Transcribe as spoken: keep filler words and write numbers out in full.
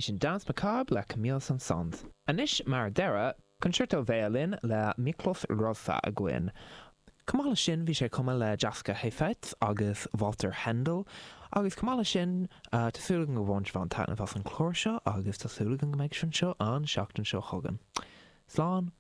Sin Danse Macabre le Camille Saint-Saëns. Anois mar dheireadh, concerto veidhlín le Miklós Rozsa againn. Chomh maith leis sin bhí sé ag cumadh le Jascha Heifetz agus Walter Hendel, agus chomh maith leis sin tá súil agam go bhain sibh an-taitneamh as an chlár seo agus tá súil agam go mbeidh sibh anseo an seachtain seo chugainn. Slán!